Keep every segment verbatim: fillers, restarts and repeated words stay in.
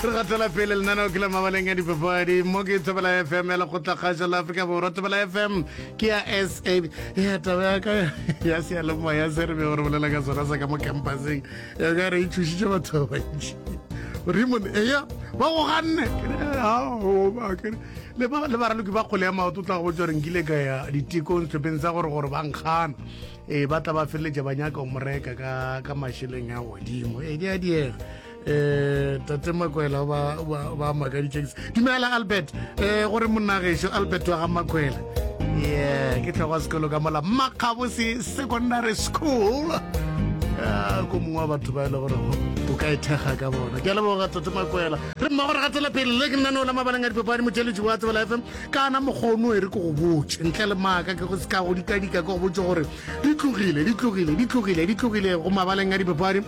Re gatela pele lenaneo ke la mabaleng a dipapadi mo ke Thobela F M ya Lekgotlakgašo la Afrika Borwa. Thobela F M ke ya S A. Ya taba ya ka ya seyalemoya se re bego re bolela ka sona sa ka mo campuseng ya ka re e thušitše batho ba bantši. Raymond, eya ba go ganne le baraloki ba kgole ya maoto, tla go botsa gore nkile ka ya ditekong setlhopheng sa gore gore ba nkgana, ee, ba tla ba feleletša ba nyaka go mo reka ka ka mašeleng a godimo. Ee, di a diega. um tate Makwela ba ba makaditše. Dumela Albert, um gore monnagešo Albert wa ga Makwela, yeah, ke tlhogo sekolo ka mola Makgabose Secondary School, ko mongwe wa batho ba e le gore o ka ithekga ka bona. Ke a leboga, tate Makwela. Re mmago re gatela pele le ke lenaneo la mabaleng a dipapadi, motheletši wa Thobela F M. Kana mokgono e re ke go botse ntle le maaka, ke go se ka go dikadika, ke go botse gore di tlogile, di tlogile, di tlogile, di tlogile go mabaleng a dipapadi.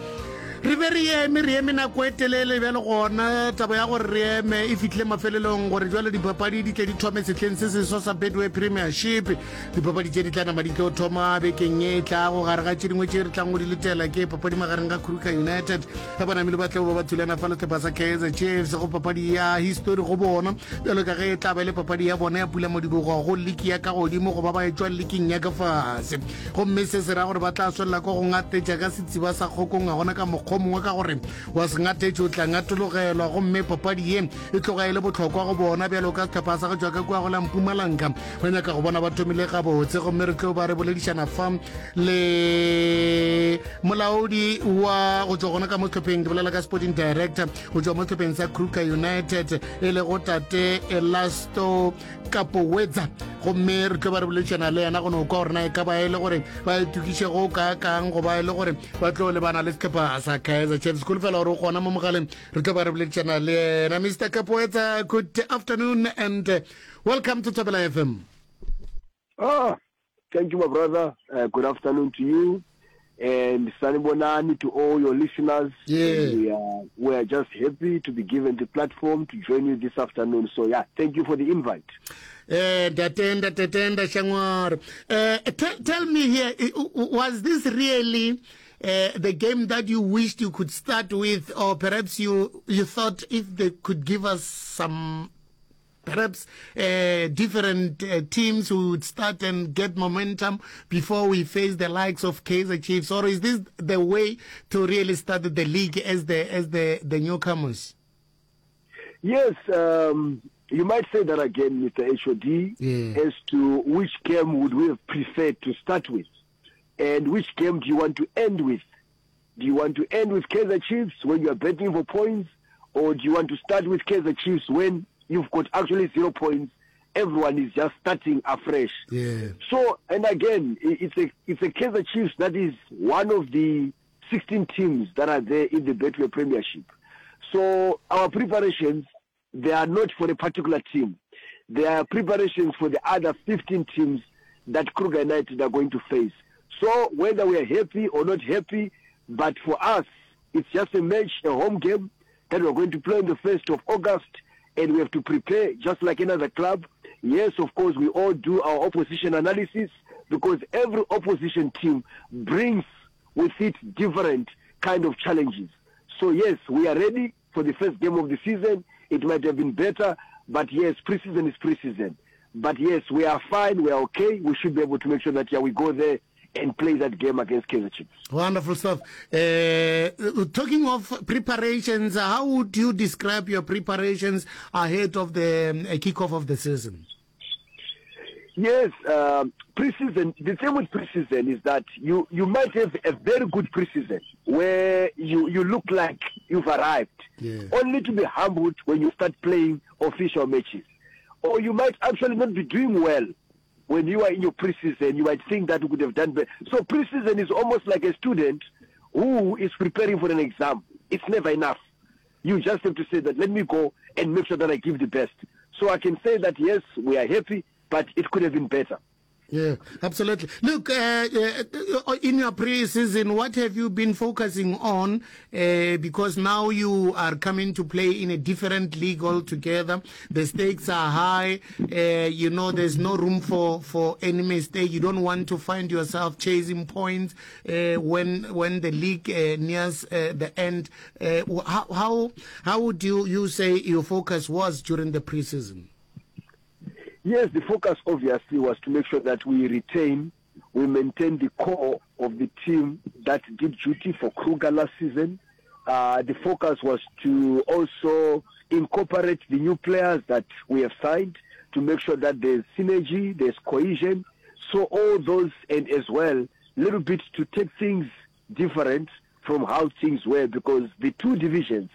Re be re eme, re eme nako e telele bjale. Gona taba ya gore re eme e fitlhile mafelelong, gore jwale dipapadi di tle di thome sehleng se seswa sa Betway Premiership. Dipapadi tše di tla nama di tlo thoma bekeng e tlago. Gare ga tše dingwe tše re tlang go di letela ke papadi magareng ga Kruger United ge banamile ba tlebo ba ba thulana fa le sehlopha sa Kaizer Chiefs, go papadi ya history go bona, bjalo ka ge e tla ba le papadi ya bona ya pula modibogo go liki ya ka godimo go ba ba etšwa liking ya ka fase. Gomme se se ra gore ba tla swalela ko go ngatetša ka setsiba sa kgokong, ga gona ka mokgwa mongwe, ka gore wa se ngatetše o tla ngatologelwa. Gomme papadi ye e tloga e le bohlokwa go bona bjalo ka sehlopha sa go tšwa ka kua go la Mpumalanga, ba nyaka go bona ba thomile gabotse. Gomme re tlo ba re boledišana fa le molaodi wa go tšwa gona ka mo sehlopheng, ke bolela ka sporting director go tšwa mo sehlopheng sa Kruger United, e lego tate Elasto Kapowetsa. Gomme re tlo ba re boledišana le yena go no kwa gore na e ka ba e le gore ba itokiše go kaakang, goba e le gore ba tlo lebana le sehlopha sa Kaizer Chiefs. Kholofela gore o gona mo mogaleng, re tlo ba re boledišana le yena. Mister Kapowetsa, good afternoon and uh, welcome to Thobela F M. Ah, thank you, my brother. Uh, good afternoon to you. And Sanibonani to all your listeners. Yeah. And we are, we are just happy to be given the platform to join you this afternoon. So, yeah, thank you for the invite. Eh, ndatenda, tatenda Shangwar. Uh, tell, tell me here, eh, was this really uh, the game that you wished you could start with, or perhaps you you thought if they could give us some perhaps uh, different uh, teams who would start and get momentum before we face the likes of Kaizer Chiefs, or is this the way to really start the league as the as the the newcomers? Yes, um, you might say that again, Mister H O D, Yeah. as to which game would we have preferred to start with, and which game do you want to end with? Do you want to end with Kaizer Chiefs when you are betting for points, or do you want to start with Kaizer Chiefs when you've got actually zero points? Everyone is just starting afresh. Yeah. So, and again, it's a it's a Kaizer Chiefs that is one of the sixteen teams that are there in the Betway Premiership. So our preparations, they are not for a particular team. They are preparations for the other fifteen teams that Kruger United are going to face. So whether we are happy or not happy, but for us, it's just a match, a home game that we're going to play on the first of August, and we have to prepare just like another club. Yes, of course, we all do our opposition analysis because every opposition team brings with it different kind of challenges. So yes, we are ready for the first game of the season. It might have been better, but yes, preseason is preseason. But yes, we are fine, we are okay. We should be able to make sure that, yeah, we go there and play that game against Kaizer Chiefs. Wonderful stuff. Uh, talking of preparations, how would you describe your preparations ahead of the um, kickoff of the season? Yes, um, preseason. The thing with preseason is that you, you might have a very good preseason where you, you look like you've arrived, Yeah. only to be humbled when you start playing official matches. Or you might actually not be doing well when you are in your preseason. You might think that you could have done better. So preseason is almost like a student who is preparing for an exam. It's never enough. You just have to say that let me go and make sure that I give the best. So I can say that yes, we are happy, but it could have been better. Yeah, absolutely. Look, uh, uh, in your pre-season, what have you been focusing on? Uh, because now you are coming to play in a different league altogether. The stakes are high. Uh, you know, there's no room for, for any mistake. You don't want to find yourself chasing points uh, when when the league uh, nears uh, the end. Uh, how, how how would you, you say your focus was during the pre-season? Yes, the focus obviously was to make sure that we retain, we maintain the core of the team that did duty for Kruger last season. Uh, the focus was to also incorporate the new players that we have signed to make sure that there's synergy, there's cohesion. So all those, and as well, little bit to take things different from how things were, because the two divisions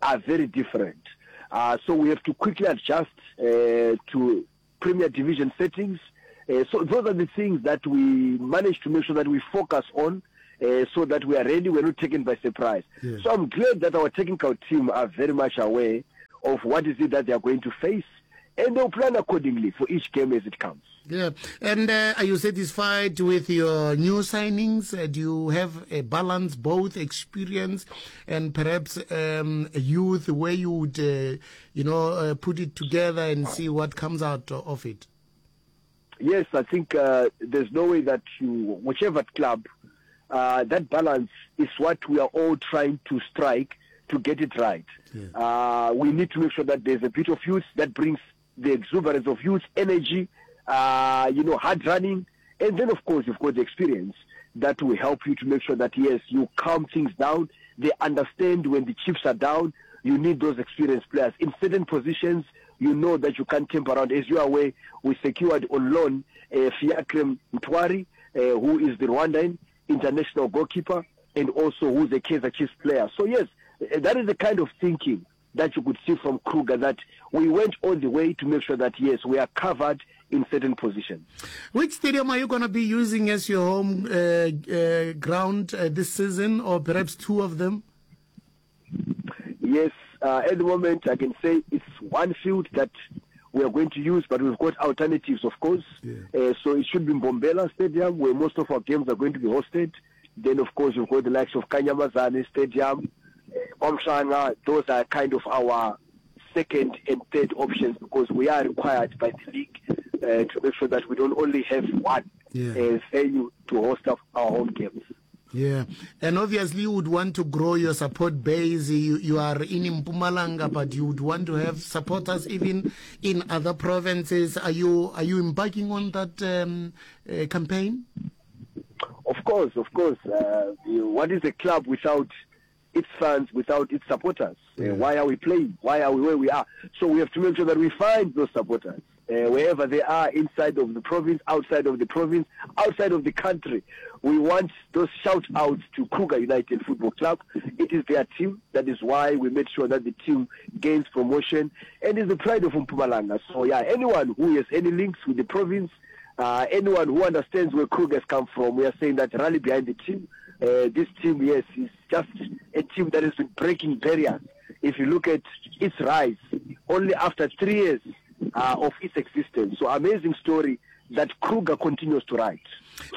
are very different. Uh, so we have to quickly adjust uh, to Premier Division settings. Uh, so those are the things that we manage to make sure that we focus on, uh, so that we are ready, we're not taken by surprise. Yeah. So I'm glad that our technical team are very much aware of what is it that they are going to face, and they'll plan accordingly for each game as it comes. Yeah. And uh, are you satisfied with your new signings? Uh, do you have a balance, both experience and perhaps um, youth, where you would, uh, you know, uh, put it together and see what comes out of it? Yes, I think uh, there's no way that you, whichever club, uh, that balance is what we are all trying to strike to get it right. Yeah. Uh, we need to make sure that there's a bit of youth that brings the exuberance of youth, energy, uh, you know, hard running. And then, of course, you've got the experience that will help you to make sure that, yes, you calm things down. They understand when the chips are down, you need those experienced players. In certain positions, you know that you can't temper around. As you are aware, we secured on loan, uh, Fiacre Mtwari, uh, who is the Rwandan international goalkeeper and also who's a Kaizer Chiefs player. So, yes, that is the kind of thinking that you could see from Kruger, that we went all the way to make sure that, yes, we are covered in certain positions. Which stadium are you gonna be using as your home, uh, uh, ground, uh, this season, or perhaps two of them? Yes, uh, at the moment I can say it's one field that we are going to use, but we've got alternatives, of course. Yeah. Uh, so it should be Mbombela Stadium, where most of our games are going to be hosted. Then, of course, we've got the likes of Kanyamazane Stadium, KwaMhlanga. Those are kind of our second and third options, because we are required by the league, uh, to make sure that we don't only have one Yeah. uh, venue to host our, our home games. Yeah, and obviously you would want to grow your support base. You, you are in Mpumalanga, but you would want to have supporters even in other provinces. Are you, are you embarking on that, um, uh, campaign? Of course, of course. Uh, you, what is a club without its fans, without its supporters? Uh, Yeah. why are we playing? Why are we where we are? So we have to make sure that we find those supporters, uh, wherever they are, inside of the province, outside of the province, outside of the country. We want those shout-outs to Kruger United Football Club. It is their team. That is why we made sure that the team gains promotion and is the pride of Mpumalanga. So, yeah, anyone who has any links with the province, uh, anyone who understands where Kruger has come from, we are saying that rally behind the team. Uh, this team, yes, is just a team that has been breaking barriers. If you look at its rise, only after three years, uh, of its existence. So amazing story that Kruger continues to write.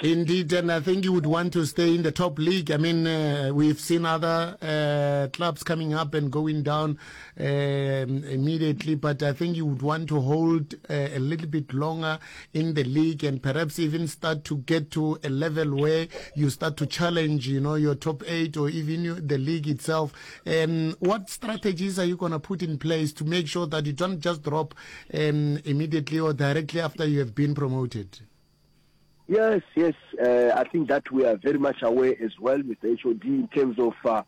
Indeed, and I think you would want to stay in the top league. I mean, uh, we've seen other, uh, clubs coming up and going down, um, immediately, but I think you would want to hold, uh, a little bit longer in the league and perhaps even start to get to a level where you start to challenge, you know, your top eight or even the league itself. Um, what strategies are you gonna put in place to make sure that you don't just drop, um, immediately or directly after you have been promoted? Yes, yes. Uh, I think that we are very much aware as well with the H O D in terms of, uh,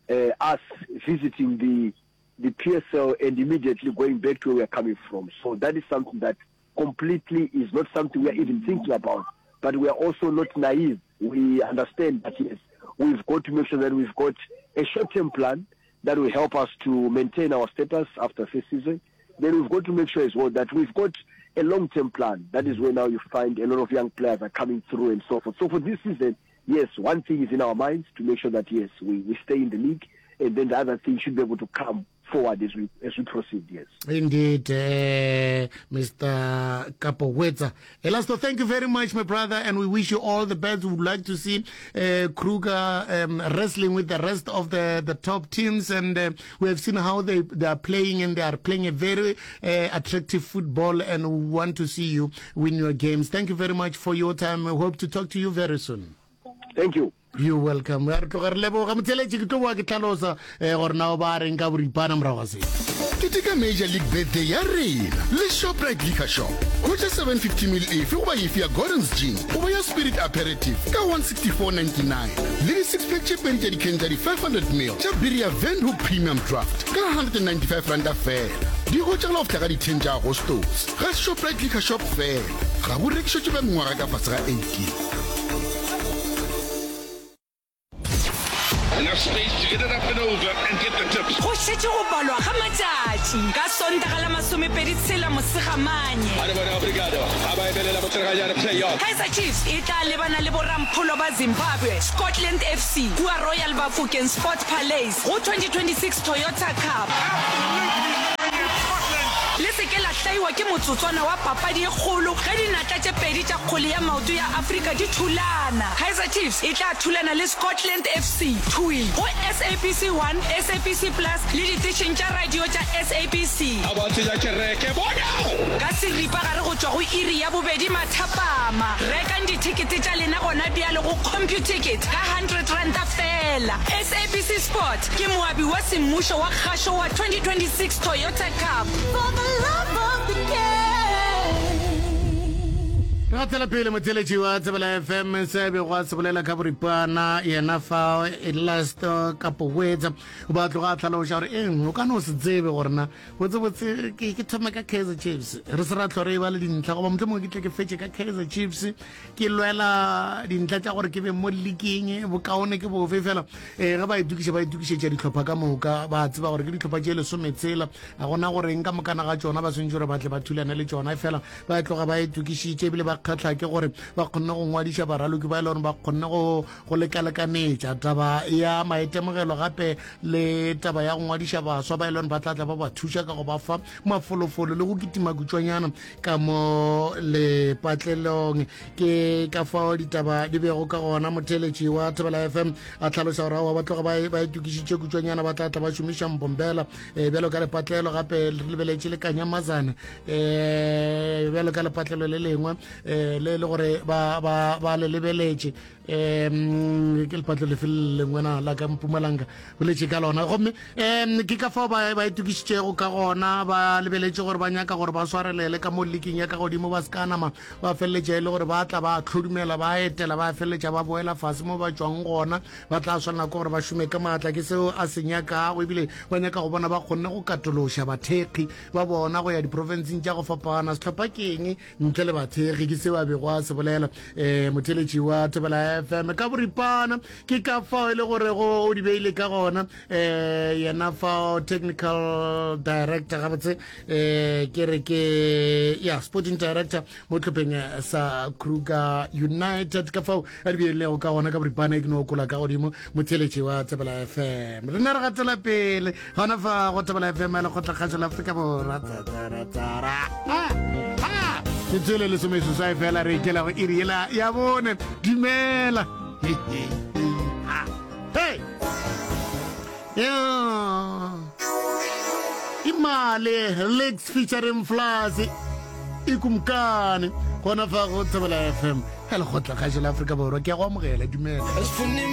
uh, us visiting the, the P S L and immediately going back to where we are coming from. So that is something that completely is not something we are even thinking about. But we are also not naive. We understand that, yes, we've got to make sure that we've got a short-term plan that will help us to maintain our status after first season. Then we've got to make sure as well that we've got a long-term plan. That is where now you find a lot of young players are coming through and so forth. So for this season, yes, one thing is in our minds to make sure that, yes, we, we stay in the league, and then the other thing should be able to come forward as we as we proceed. Yes. Indeed, uh, Mister Kapowetsa. Elasto, thank you very much, my brother, and we wish you all the best. We would like to see uh, Kruger um, wrestling with the rest of the, the top teams, and uh, we have seen how they, they are playing, and they are playing a very uh, attractive football, and we want to see you win your games. Thank you very much for your time. We hope to talk to you very soon. Thank you. You welcome. Re tloga re leboga motheletši, ke tlo boa ke tlhalosa um gore na o ba reng ka boripana morago ga se. Keteka Major League Birthday ya rena le Shoprite Liquor Shop. Hwetša seven fifty mil efe goba efe ya Gordon's Gin goba ya Spirit Aperitif ka one sixty-four ninety-nine le di six pack tše pedi tša dikheng tša di five hundred mil tša biri ya Windhoek Premium Draft ka hundred and ninety-five ranta fela. Di hwetšagala go fihla ka di ten tša Agostose ga Shoprite Liquor Shop fela. Ga bo rekišetšwe ba mengwaga ka fase ga eighteen. Enough space to get it up and over and get the tips. Go šetše go balwa ga matšatši ka Sontaga la masomepedi tshela Mosegamanye. Kaizer Chiefs e tla lebana le borampholo ba Zimbabwe, Scotland F C, kua Royal Bafokeng Sport Palace go twenty twenty-six Toyota Cup. Le se ke la hlaiwa ke motsotswana wa papadi e kgolo ge dinatla tše pedi tša kgwele ya maoto ya Afrika di thulana. Kaizer Chiefs e tla thulana le Scotland F C thwi go S A B C one, S A B C Plus le ditešeng tša radio tša S A B C. Ka seripagare go tšwa go iri ya bobedi mathapama. Rekang dithekete tša lena gona bjale go Computicket ka hundred ranta fela. S A B C Sport ke moabi wa semmušo wa kgašo wa twenty twenty-six Toyota Cup. For the love of the game. Re gatela pele, motheletši wa Tsebela F M, se bego a se bolela ka boripana yena fa Elasto Kapowetsa, ba tloga a tlhaloša gore eng o ka no se tsebe gore na botsebotse ke ke thome ka Kaizer Chiefs, re se ra tlho re e ba le dintlha, goba motlho mongwe ke tle ke fetše ka Kaizer Chiefs, ke lwela dintlha tša gore ke be mo leaking, bokaone ke bofe fela. um ge ba itokiša, ba itokišetša dihlopha ka moka, ba tseba gore ke dihlopha tše lesometshela, ga gona goreng ka mokana ga tšona ba swantse gore ba tle ba thulane le tšona, fela ba tloga ba itokišitše, ebile ba kgatlha ke gore ba kgonne go ngwadiša baraloki ba e le gore ba kgonne go go lekalekanetša taba ya maitemogelo, gape le taba ya go ngwadiša baswa ba e le gore ba tla tla ba ba thuša ka go ba fa mafolofolo le go kitima kutšwanyana ka mo lepatlelong. Ke ka fao ditaba di bego ka gona. Motheletši wa Thobela F M a tlhalosa gore aowa, ba tloga ba ba itokišitše kutšwanyana, ba tla tla ba šomiša Mbombela um bjalo ka lepatlelo, gape re lebeletše le Kanyamazane um bjalo ka lepatlelo le lengwe um le le gore ba ba ba le lebeletše. um ke lepatlelo lefe le lengwe na la ka Mpumalanga boletše ka lona, gomme um ke ka fao ba ba itokišitšego ka gona, ba lebeletše gore ba nyaka gore ba swarelele ka mo leaking ya ka godimo, ba se ka nama ba feleletša e le gore ba tla ba tlhodumela, ba etela, ba feleletša ba boela fase mo ba tšwang gona. Ba tla swanela ke gore ba šome ka maatla, ke seo a se nyakago, ebile ba nyaka go bona ba kgonne go katološa bathekgi ba bona go ya diprofenseng tša go fapana. Sehlopha ke eng ntle le bathekgi? Ke seo a bego a se bolela um motheletši wa Thobela F M ka boripana. Ke ka fao e le gore go o di beile ka gona um yena fao technical director, gabotse um ke re ke ya sporting director mo tlhopheng sa Kruger United, ka fao a di beilego ka gona ka boripana. E ke no kola ka godimo, motheletši wa Thobela F M. Re ne re gatela pele gona fa go Thobela F M ya Lekgotlakgašo la Afrika Borwa. Tsara ke tswele lesomeseswai fela re ikela go iri yela ya bone. Dumela. Hey, yeah. Imali Lex featuring Flas, Ikumkani, gona fa go Thobela F M ya Lekgotlakgašo la Afrika Borwa. Ke ya go amogela, dumela.